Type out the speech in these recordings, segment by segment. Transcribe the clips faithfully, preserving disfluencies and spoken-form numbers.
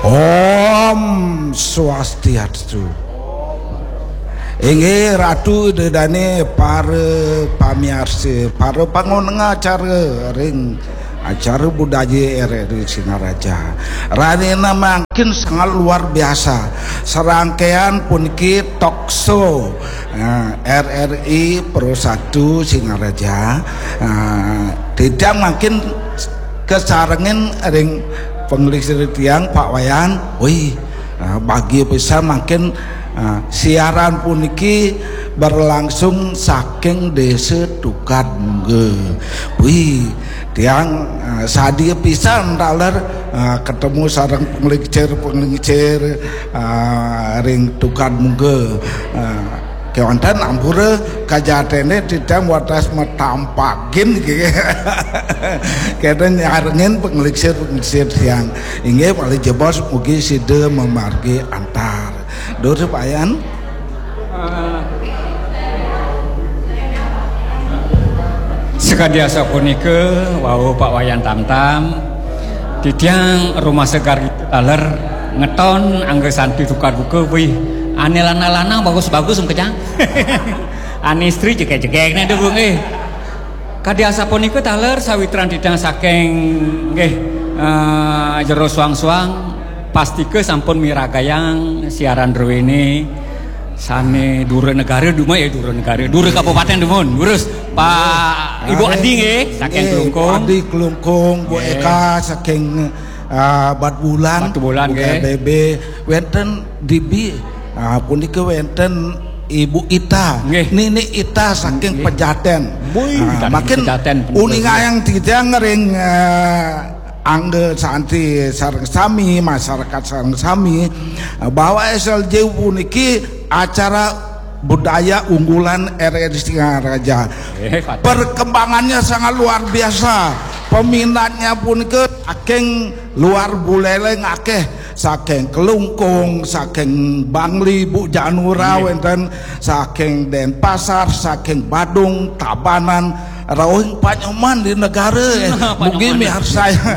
Om Swastiastu. Inggih Ratu Ida Dane, para pamiarsa, para pangoneng acara ring acara budaya R R I Singaraja. Rahina mangkin sangat luar biasa. Serangkaian puniki talk show, eh, R R I Pro Satu Singaraja. Eh, titiang mangkin kasarengin ring panglingsir tiang, Pak Wayan. Wih, eh, bagia pisan mangkin, eh, siaran puniki berlangsung saking Desa Tukad Mungga. Wih, tiang, eh, sadia pisan taler, eh, ketemu sareng panglingsir-panglingsir, eh, ring Tukad Mungga. Eh, Kewanten ampura kajatene titiang wates matampagin nggih. Kenten nyarengin panglingsir-panglingsir tiang. Inggih, malih jebos mugi sida mamargi antar. Dur Pak Wayan. Sakadi asapunika, wau Pak Wayan Tamtam, titiang rumasa garita taler ngeton angga santi tukad buka, wih, ane lanang-lanang bagus-bagus engkejang. Ane istri jegek-jegek ne dulu nggih. Kadi asapunika taler sawitran titiang saking nggih, eh, jero suang-suang, pastika sampun miragayang siaran druene sane dura negara duma ya, dura negara, dura kabupaten dumun. Durus Pak Ibu Adi nggih, saking Klungkung. Adi Klungkung, Bu Eka saking, ah, Batubulan, Batubulan nggih. Bebe, wenten Dibi, ah, punika wenten Ibu Ita, nggih. Nini Ita saking Pejaten. Wih, ah, saking makin Pejaten, puniki. Uningayang titiang ring, eh, angga santi sareng sami, masyarakat sareng sami, eh, bahwa S L J U puniki acara budaya unggulan R R I Singaraja. Eh, Pak. Perkembangannya sangat luar biasa. Peminatnya punika saking luar Buleleng akeh, saking Klungkung, saking Bangli, Bu Janura, nggih. Wenten saking Denpasar, saking Badung, Tabanan, rauh Pak Nyoman di negara, eh. Pak Nyoman. Mugi miarsayang.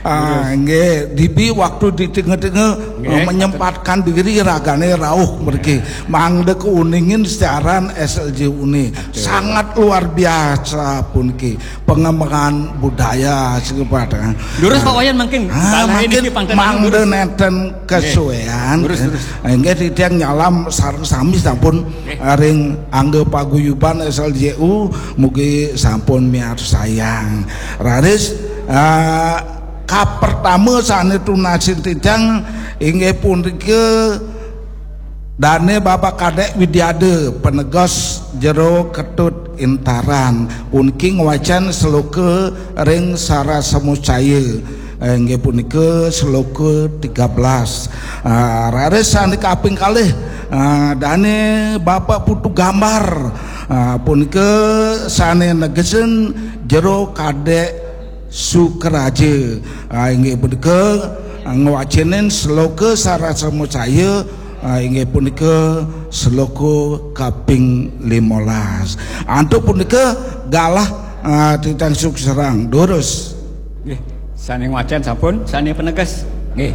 Ah, nggih, Dibi waktu di tengah-tengah, nggih, eh, menyempatkan diri ragane rauh mriki. Mangda keuningin siaran S L J U ni. Betul. Sangat luar biasa puniki. Pengembangan budaya sekepat, eh. Durus Pak Wayan mangkin. Ah, mangkin mangda nenten kesuean. Nggih. Durus, durus. Eh, nggih, titiang nyalam sareng sami sampun, nggih, ring angga paguyuban S L J U, mugi sampun miarsayang. Raris, eh, kapertama sane tunasin titiang inggih punika Dane Bapak Kadek Widiada, penegos Jero Ketut Intaran, puniki ngwacen sloka ring Sarasemucaya, eh, inggih punika sloka tiga belas. Ah, raris sane kaping kalih, ah, Dane Bapak Putu Gambar, ah, punika sane negesen Jero Kadek Sukaraja, ah, inggih punika, ah, ngwacenin sloka Sarasemucaya, ah, inggih punika sloka kaping limolas. Antuk punika galah, ah, titiang suksrahang. Durus. Nggih, sane ngwacen sampun, sane peneges. Nggih.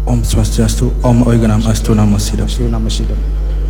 Om Swastiastu, Om Awighnam Astu Namo Sidam. Astu Namo Sidam.